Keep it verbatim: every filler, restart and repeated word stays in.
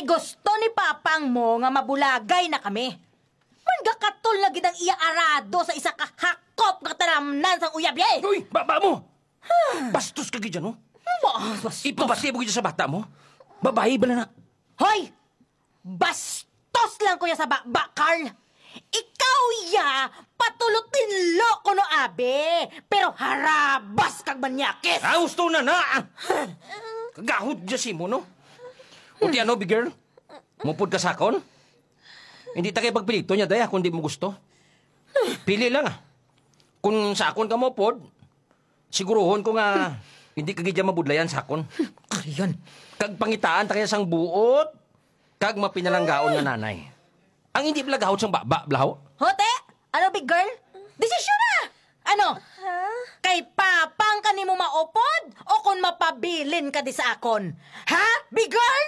Gusto ni Papang mo nga mabulagay na kami. Man gakatol na gid ang iya arado sa isa ka hakop nga talamnan sang uyab, eh! Uy, baba mo! Bastos ka gid, no? Ba-, bastos. Ipabati mo gid sa bata mo? Babayi bala na. Hoy! Bastos lang ko ya sa baba, Carl! Ikaw ya, patulotinlo ko no, abi, pero harabas kag manyakis! Ah, gusto na na! Kagahod dya si mo, no? O ti ano, big girl? Mupod ka sa akon? Hindi ta kay pagpilito niya, day, kung di mo gusto. Pili lang, ah. Kung sa akon ka mupod, siguruhon ko nga hindi ka gid mabudlayan sa akon. Kariyan. Kag pangitaan ta kaya sang buot, kag mapinalanggaon nga nanay. Ang hindi bala gahod sang baba, blaho. Hote? Ano, big girl? Desisyon na! Ano? Ha? Kay papang ka nimo maupod o kon mapabilin ka di sa akon? Ha, big girl?